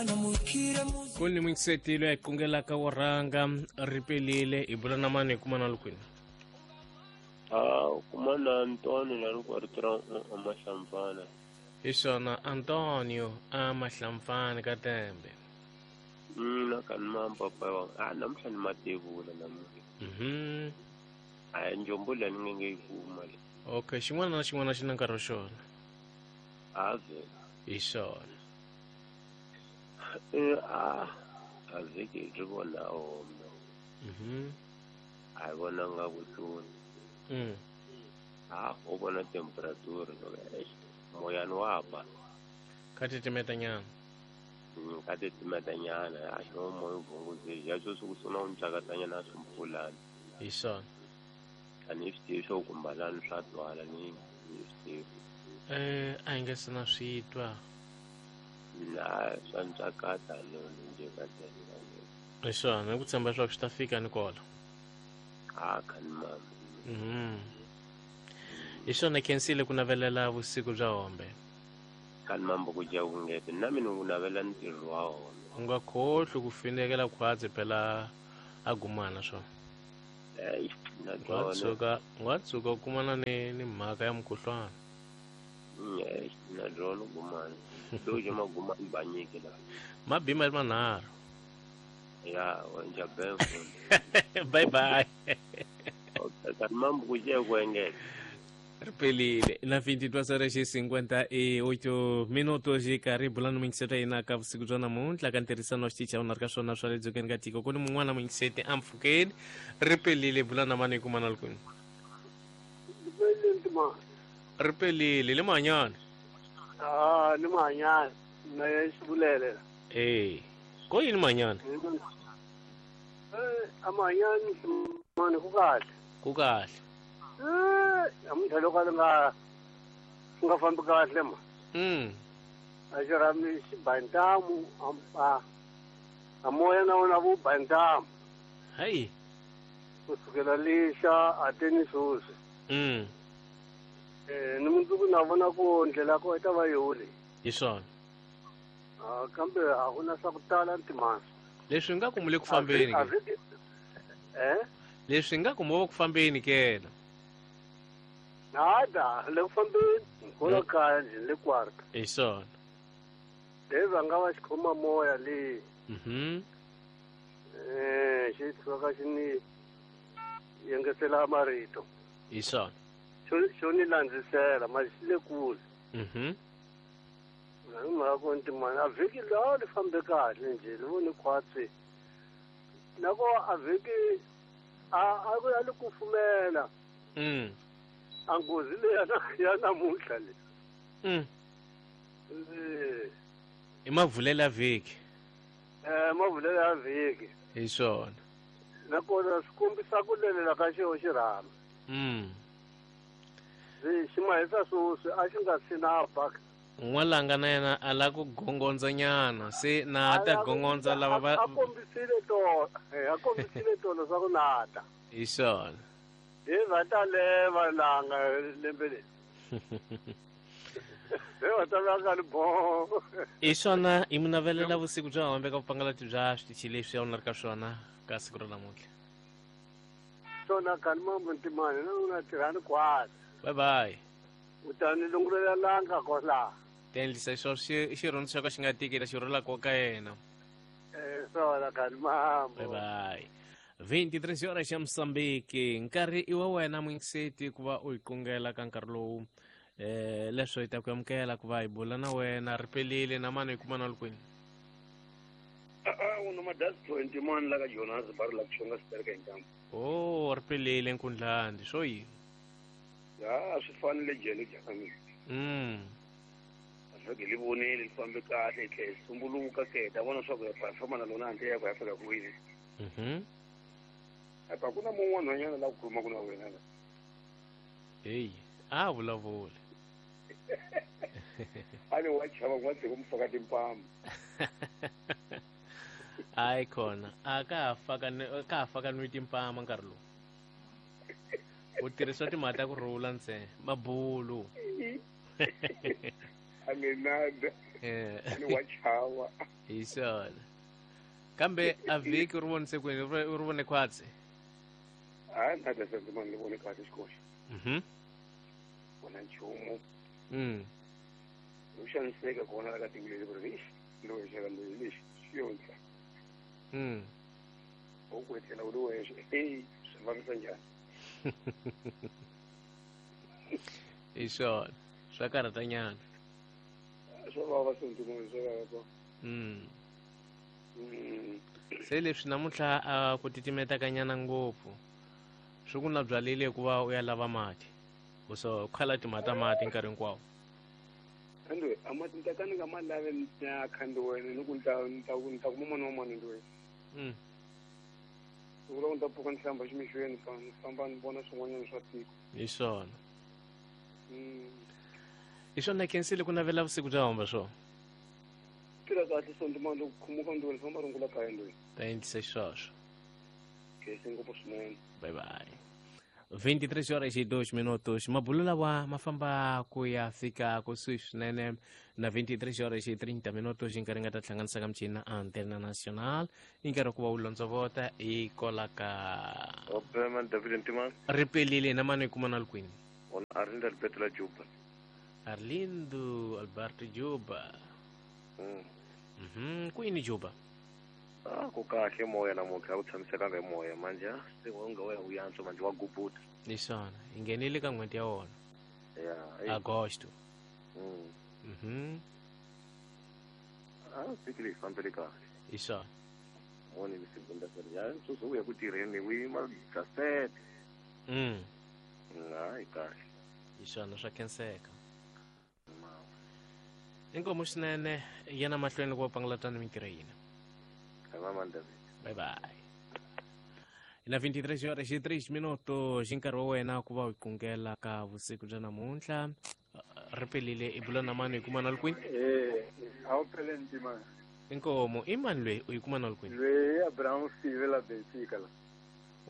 Ku ni muyingiseti loyi a kungelaka wo rhanga ri pelile hi bula na mani hi kuma na lukwini. A u kuma na Antonio la ri ku rito ra Mahlampfana. Hi swona Antonio a Mahlampfana ka Tembe. Na ka ni mampapa wa a namuntlha ni matevula namuntlha. A njombo leyi ni nge nge yi kuma le. Okay, xin'wana na xin'wana xi na nkarhi wa xona. A vhela. Hi swona. A a vhiki ri vona home. A hi vonanga vuhloni. A u vona temperature loko eish moyani wa ba. Ka titimeta nyana. Ka titimeta nyana a xo moya u vhunguzile ya sweswi ku sungula ku ntsakatanyana swimpfulani. Hi swona. A ni swi tivi swo kumbalani swa twala ni ni swi tivi. A hi nge se na swi twa. Na swa ntsakata no nje ka tena. Hi swona, ku tshemba leswaku swi ta fika ni kola. A kha ni mama. Hi swona khensile ku navelela vusiku bya hombe. Kha ni mambo ku dya vungete na mina ku navela ntirho wa hombe. U nga khohlwi ku finekela khwatsi phela a gumana swona. Eish, na byona. U nga tshuka u kumana ni mhaka ya mukhuhlwana. Eish, na byona gumana. Dojo magumana ba nyike la. Mabima ri manharhu. Ya, wa nja bengo. Bye bye. Okay, kha ni mambo ku dya ku engeta. Ri pelile na 22 horas e 58 minutos hi karhi hi bula ni muyingiseti yena ka vusiku bya namuntlha ka ntirhisano wa xitichi a wu na ri ka swona swa le dzongeni ka tiko ku ni mun'wana muyingiseti a mpfhukeni ri pelile bula na mani hi kuma na lukwini. Ri pelile le mahanyana. Ah, ni mahanyana na ya xivulele. Eh, ko yini mahanyana? A mahanyana mani ku kahle. Ku kahle. Namuntlha loko a li nga swi nga fambi kahle ma. A xi rhami xi ba ntamu a moya na wona vu ba ntamu. Hayi. Ku sukela lixa a te ni sweswi. Ni mundzuku na vona ku ndlela ko i ta va yoli. Hi swona. Kambe a ku na swa ku tala ntimasa. Leswi nga ku mu le ku fambeni ke. Leswi nga ku mo ku fambeni ke na. Nada, le ku fambeni, kona kaya nje le kwarta. Hi swona. Le va nga va xikhoma moya le. Xi tshuka xi ni yengetela marito. Hi swona. Xo ni landzisela, ma xi le kule. Na hi mhaka ku ntimana, a vhiki lawa li fambe kahle nje, li voni khwatsi. Na ko a vhiki a ku ya li kufumela. A nghozi leyi ya namuntlha le. I mavulelo ya vhiki. Mavulelo ya vhiki. Hi swona. Nakona swi kombisa ku lelela ka xo xirhami. Xi mahisa sweswi a xi nga si na ba. N'walanga na yena a la ku gongondza nyana, se na ta gongondza lava va A kombisile tolo, a kombisile tolo swa ku nata. Hi swona. Hi va ta leva langa lembe leri. Hi va ta langa li bo. Hi swona hi mu navelela vusiku bya hombe ka vupangalati bya switichi leswi a wu na ri ka swona ka siku ra namuntlha. Swona kani mambo ntimani na u na tirhani kwala. Bye bye. U ta ni lungulela langa kwala. Tendlisa xo xirhundzu xa ka xi nga tiki ta xi rhula ka yena. Swona kani mambo. Bye bye. 23 horas ya Mozambique nkarhi i wa wena muyingiseti ku va u hi kungela ka nkarhi lowu leswo hi ta ku amukela ku va hi bula na wena ri pelile na mani hi kuma na lukwini. A una madasi 20 mani la ka Jonas ba ri la ku xonga sitereka hi ntambu. Oh, ri pelile nkundlandi swo yini? Ya swi fanele jele jaka mina. A swi li vonile li fambe kahle hi tlhela hi sumbuluka ke ta vona swa ku ya performa na lona handle ya ku ya fika kwini. Apa ku na mun'wana nhwanyana la ku khuluma ku na wena la. Hey, a vulavula. A ni wa chava ku va tshika mu faka timpama. Hayi khona, a ka ha faka ni ka ha faka nwi timpama nkarhi lowu. U tirhisa timhaka ta ku rhula ntsena, mabulu. A ni nada. A ni wa chava. Hi swona. Kambe a vhiki u ri vonise kwini? U ri vone khwatsi? Hayi, na Desendimani ni vone kahle xikoxi. Vona nchumu. U xaniseka kona la ka tiko leri ku ri lexi loyi xaka loyi lexi xi yo ndla. U ku etlela u ri wexe, eyi swi vavisa njhani? Hi swona, swa karhatanyana. Swa vava Sendimani, swa vava ko. Se leswi namuntlha a ku titimetakanyana ngopfu, swi ku na byalile hikuva u ya lava mati. U so khala timhaka ta mati nkarhi hinkwawo. Khandwe, a mati ni ta ka ni nga ma lavi ni ya khandwe wena, ni ku ni ta kuma mani wa mani ndwe. Ni vula ku ni ta pfuka ni hlamba ximixweni, ni famba ni vona swin'wanyana swa tiko. Hi swona. Hi swona, khensile ku navela vusiku bya homba swona. Tirha kahle Sondimani, loko khumuka ndweni famba rungula kaya ndweni. Ta endlisa xisweswo. Khensi ngopfu swinene. Bye bye. 23 horas e 2 minutos. Mabulo lawa ma famba ku ya fika kusuhi swinene na 23 horas e 30 minutos, hi nkarhi nga ta hlanganisa ka michini na Antena Nacional. I nkarhi wa ku va u londzovota hi kola ka Opeman David Ntimani. Ri pelile na mani kuma na likwini. Ona Arlindo Alberto la Juba. Arlindo Alberto Juba. Kwini Juba? Ku kahle moya namuntlha, a ku tshamisekanga hi moya manje, se wa nga wa u yantswa manje wa gubuta. Hi swona, hi nghenile ka n'hweti ya wona. Ya, Agosto. Vhiki leyi fambele kahle. Hi swona. Moni ni segunda ya sweswi u ya ku tirheni u yima bya sete. Hayi kahle. Hi swona, swa khenseka. Inkomu swinene, yena mahlweni loko va pangalatana mintirho ya hina. Bye bye. Na 23 horas e 3 minutos, hi nkarhi wa wena ku va u qungela ka vusiku bya namuntlha. Ri pelile i bula na mani, hi kuma na likwini? A wu pele ntima. Inkomu, i mani loyi u yi kuma na likwini? Loyi Abraham Sive la Benfica la.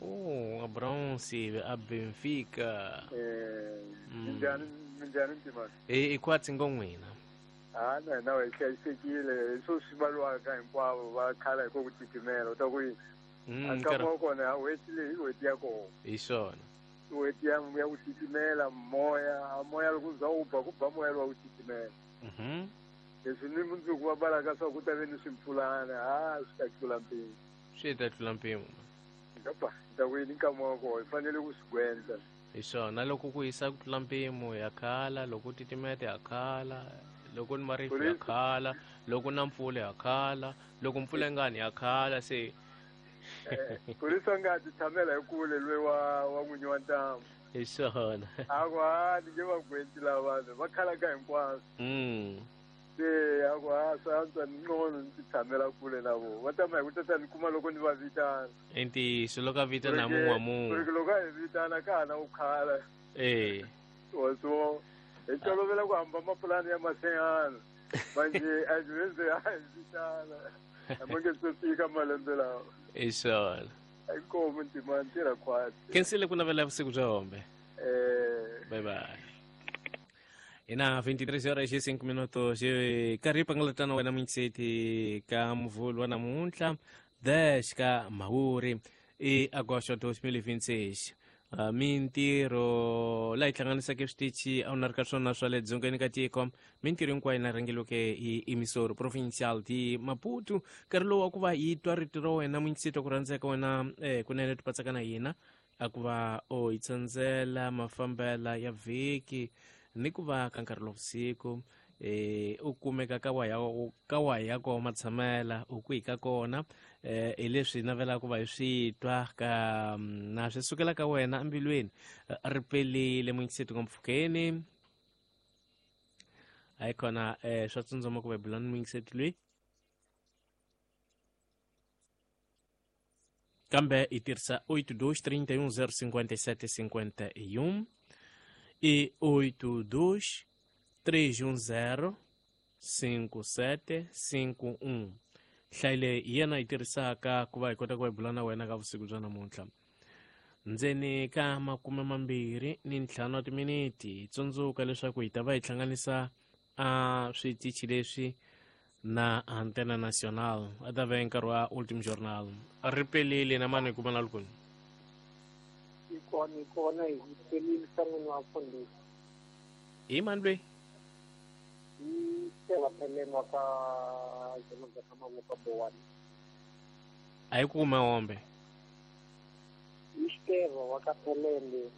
Oh, Abraham Sive a Benfica. Minjhani, minjhani ntima? I khwatsi ngo n'wina. Na hina hi hlayisekile, swo swi valiwaka hinkwavo va khala hi ku ku titimela, u ta ku yini? A nkama wa kona a n'hweti leyi i n'hweti ya kona. Hi swona. I n'hweti ya ku titimela, moya, a moya loko za wu ba, ku ba moya lowa ku titimela. Leswi ni mundzuku va balaka swa ku ta ve ni swimpfulana, swi ta tlula mpimo. Swi ta tlula mpimo. Ngapa, ta ku yini nkama wa kona, hi fanele ku swi gwendla. Hi swona, loko ku hisa ku tlula mpimo ya khala, loko ku titimeta ya khala, loko ni marifu ya khala, loko na mpfula ya khala, loko mpfula yi nga ni ya khala, se Kurisa nga ti tshamela hi kule loyi wa n'winyi wa ntamu. Hi swona. A ku, ni nge va gwenti lava vanhu, va khala ka hinkwaswo. Se a ku, swa antswa ni ngcono ni ti tshamela kule na vona. Va tama hi ku tata ni kuma loko ni va vitana. I ntiyiso, loko a vitana mun'we wa mun'we. Ku ri loko a hi vitana ka ha na ku khala. Wa swo, hi tolovela ku hamba mapulani ya masengana. Manje a hi ze a hi vitana. A ma nge se fika malembe lawa. Hi swona. Inkomu ntima ntirha khwatsi. Khensile ku navela vusiku bya hombe. Bye bye. Ina 23 horas e 5 minutos. Karhi pangalatana wena munyikiseti ka muvhulu wa namuntlha 10 ka Mhawuri i agosto 2026. Mintirho laha yi hlanganisaka switichi a wu na ri ka swona swa le dzongeni ka tiko, mintirho hinkwayo na rhangeliweke hi emisoro provincial di Maputo. Nkarhi lowu wa ku va yi twa rito ra wena munyikiseti ku rhandzeka wena kunene tipatsaka na hina, a ku va o yi tsandzela mafambela ya vhiki ni ku va ka nkarhi lowa vusiku, u kumeka ka wa ya ka wa ya ko matshamela u kwihi ka kona, hi leswi navelaka ku va hi swi twa ka na swi sukela ka wena embilwini. Ri pelile munyikiseti ngompfhukeni. Hayi khona, swa tsundzuma ku va hi bula ni munyikiseti loyi, kambe hi tirhisa 82 31 057 51 e 82 310 57 51. Nhlayo leyi hi yena yi tirhisaka ku va hi kota ku va hi bula na wena ka vusiku bya namuntlha. Ndzeni ka 25 wa timiniti, hi tsundzuka leswaku hi ta va hi hlanganisa a switichi leswi Na Antena Nacional a ta ve nkarhi wa Ultim Journal. Ri pelile na mani kuma na lukuni. Ikona ikona hi pelile sangwini wa mfundhisi. Hi mani lweyi? Hi Steva Pheleni wa ka Joloza ka Mavoko Bowani. A yi kume hombe. Hi Steva wa ka Phelembe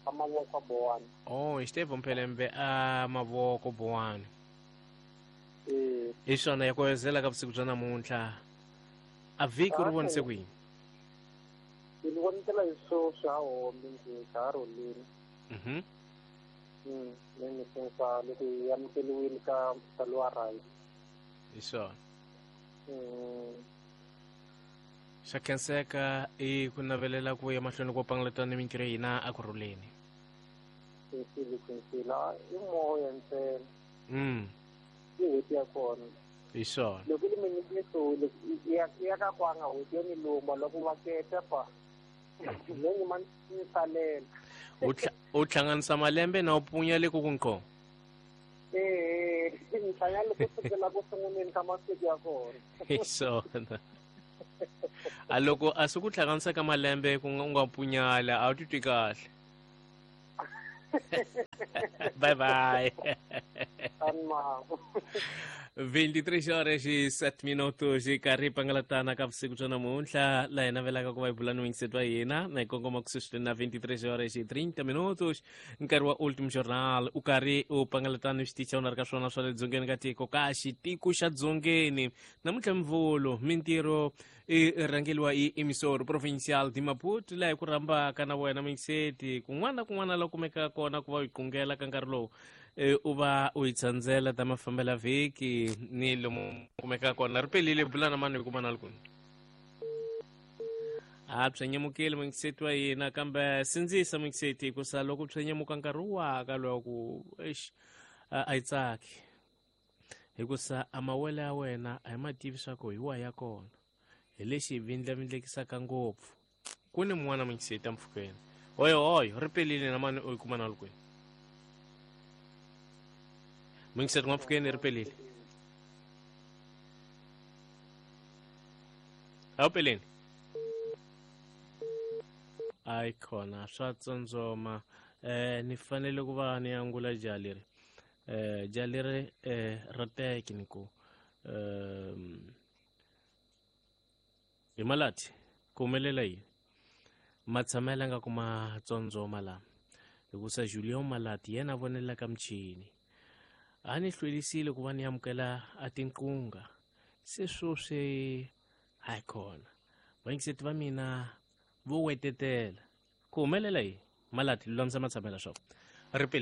ka Mavoko Bowani. Oh, hi Steva Mphelembe a Mavoko Bowani. Hi swona ya koyozela ka vusiku bya namuntlha. A vhiki ri vonise ku yini? Ni vonetela hi swo swa hombe nje ka ha rholini. Ni ni sensa loko hi amukeliwile ka lowa right. Hi swona. Xa khenseka i ku navelela ku ya mahlweni ko pangalata ni mintirho ya hina a ku rhuleni. Khensile khensile i moya ntsena. I n'hweti ya kona. Hi swona. Loko li mi hlule ya ka kwanga n'hweti yo ni luma loko va keta pa. Ni ma ni salela. U hlanganisa malembe na u punya le ku ku Eh, ni hlangana ku sukela ku sunguleni ka masiku ya kona. Hi swona. A loko a swi ku hlanganisa ka malembe ku nga u nga punyala a wu titwi kahle. Bye bye. 23 horas e 7 minutos e karhi pangalatana ka vusiku bya namuntlha laha hi navelaka ku va hi bula ni wingiseti wa hina na hi kongoma ku sweswi na 23 horas e 30 minutos nkarhi wa Ultim Journal u karhi u pangalatana ni xitichi u na ri ka swona swa le dzongeni ka tiko ka xitiko xa dzongeni namuntlha mvulu mintirho i rhangeliwa i emissor provincial de Maputo laha hi ku rhambaka na wena mingiseti kun'wana na kun'wana la kumekaka kona ku va u yi qungela ka nkarhi lowu u va u yi tsandzela ta mafambela vhiki ni lomu kumekaka kona ri pelile bula na mani hi kuma na lukuni a byenyemukile mungiseti wa hina kambe sindzisa mungiseti hikusa loko byenyemuka nkarhi waka loko eish a yi tsaki hikusa a mawele ya wena a hi ma tivi swa ku hi wa ya kona hi lexi hi vindlavindlekisaka ngopfu ku ni mun'wana mungiseti empfhukeni hoyo hoyo ri pelile na mani u yi kuma na lukwini mungiseti n'wampfhukeni ri pelile a wu peleni ayi khona swa tsondzoma ni fanele ku va ni angula jaha leri jaha leri ra teki ni ku hi malati ku humelela yini matshamela nga kuma tsondzoma la hikusa Julien Malati yena a vonelaka michini a ni hlwelisile ku va ni amukela a tinqunga se swoswi hayi khona vayingiseti va mina vo wetetela ku humelela yini Malati lulamisa matshamela swa ri peli.